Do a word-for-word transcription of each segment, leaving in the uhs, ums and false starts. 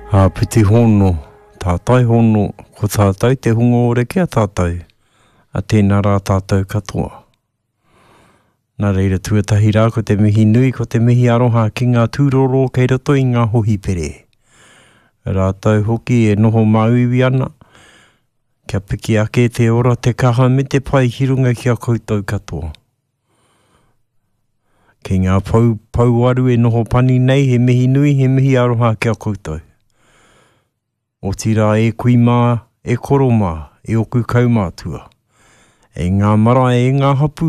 Āpiti hono, tātai hono, ko tātou te hunga ore ki a tātou, a tēnā rā tātou katoa. Nā reira tuatahi rā ko te mihi nui, ko te mihi aroha ki ngā tūroro kei roto i ngā hohipere. Rātou hoki e noho māuiui ana, kia piki ake te ora, te kaha me te pai ki runga ki a koutou katoa. Ki ngā pou, pouaru e noho pani nei, he mihi nui, he mihi aroha ki a koutou. Otirā e kui mā, e koro mā, e oku kaumātua. E ngā marae, e ngā hapū,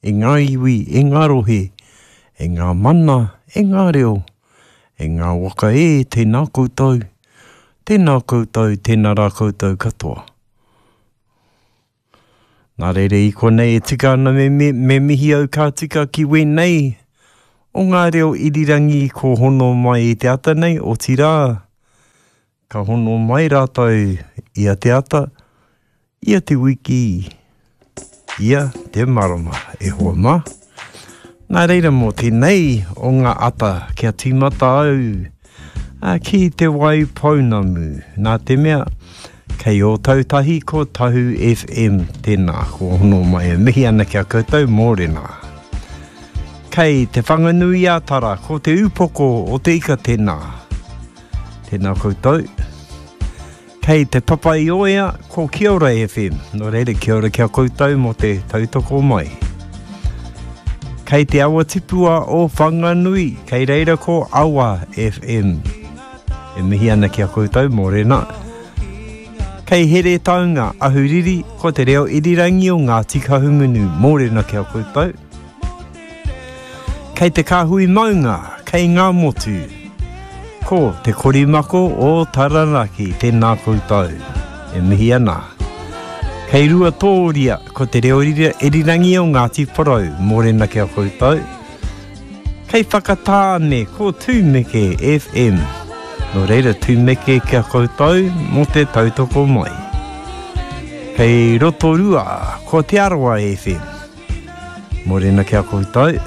e ngā iwi, e ngā rohe, e ngā mana, e ngā reo, e ngā waka e, tēnā koutou, tēnā koutou, tēnā rā koutou katoa. Nā reira i konei e tika ana me, me, me mihi au ka tika ki wēnei o ngā reo irirangi ko hono mai i te ata nei, otirā, ka hono mai rātou ia te ata, ia te wiki, ia te marama, e hoa mā. Nā reira mō tēnei o ngā ata kia tīmata au a, ki te wai pounamu. Nā te mea, kei Ōtautahi ko Tahu F M tēnā, ko hono mai e mihi ana ki a koutou mōrena. Kei te Whanganui-a-Tara ko te upoko o te ika tēnā. Tēnā koutou. Kei te Papaioea ko Kia Ora F M. Nō reira, kia ora kia koutou mō te tautoko mai. Kei te awa tipua o Whanganui, kei reira ko Awa F M. E mihi ana ki a koutou, mōrena. Kei Heretaunga, Ahuriri, ko te reo irirangi o Ngāti Kahungunu, mōrena ki a koutou. Kei te Kāhui Maunga, kei ngā motu, ko te korimako o Taranaki, tēnā koutou, e mihi ana. Kei Ruatōria, ko te reo irirangi o Ngāti Porou, mōrena ki a koutou. Kei Whakatāne, ko Tūmeke F M. Nō reira, Tūmeke ki a koutou mō te tautoko mai. Kei Rotorua, ko Te Arawa F M. Mōrena ki a koutou.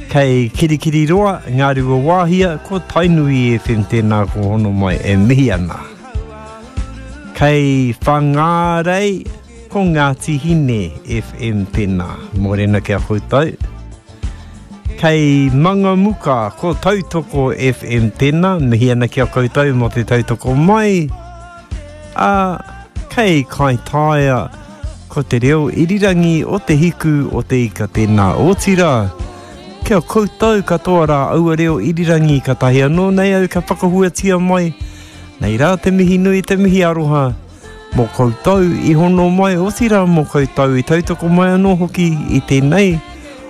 Kei Kirikiriroa, Ngā Ruawāhia, ko Tainui F M tēnā ko hono mai e mihi ana. Kei Whangārei, ko Ngāti Hine F M tēnā. Mōrena ki a koutou. Kei Mangamuka, ko Tautoko F M tēnā. Mihi ana ki a koutou mō te tautoko mai. Ā, kei Kaitaia, ko te reo irirangi o te hiku o te ika tēnā. Otirā, kia koutou katoa rā aua reo irirangi ka tahi anō nei au ka whakahuatia mai. Nei rā te mihi nui, te mihi aroha mō koutou i hono mai, otirā mō koutou i tautoko mai anō hoki i tēnei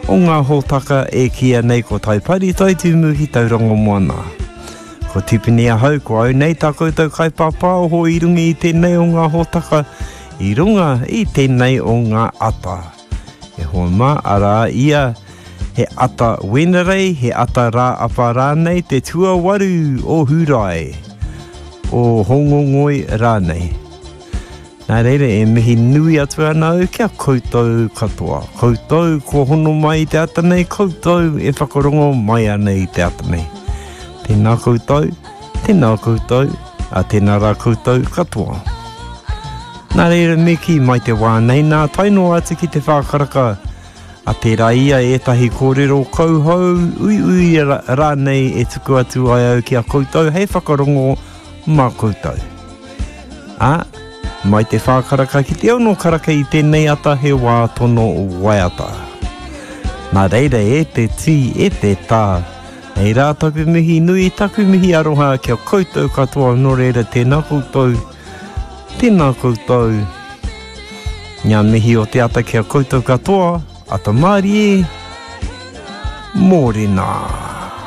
o ngā hōtaka e kīia nei ko Taipari Taitumu ki Tauranga Moana. Ko Tipene ahau, ko au nei tā koutou kaipāpāoho i runga i tēnei o ngā hōtaka, i runga i tēnei o ngā ata. E hoa mā, arā ia, he ata Wenerei, he ata rā apa rānei, te tuawaru o Hūrae, o Hongongoi rānei. Nā reira, e mihi nui atu ana au kia koutou katoa. Koutou kua hono mai i te ata nei, koutou e whakarongo mai ana i te ata nei. Tēnā koutou, tēnā koutou, a tēnā rā koutou katoa. Nā reira, me kī mai te wā nei nā, tae noa atu ki te whākaraka, a tērā ia ētahi kōrero kauhou, uiui rānei e tuku atu ai au ki a koutou hei whakarongo mā koutou. Ā, mai te whākaraka ki te ono karaka i tēnei ata he wā tono waiata. Nā reira e te tī, e te tā, nei rā taku mihi nui, taku mihi aroha kia koutou katoa, nō reira tēnā koutou, tēnā koutou. Ngā mihi o te ata kia koutou katoa, ata mārie, mōrena.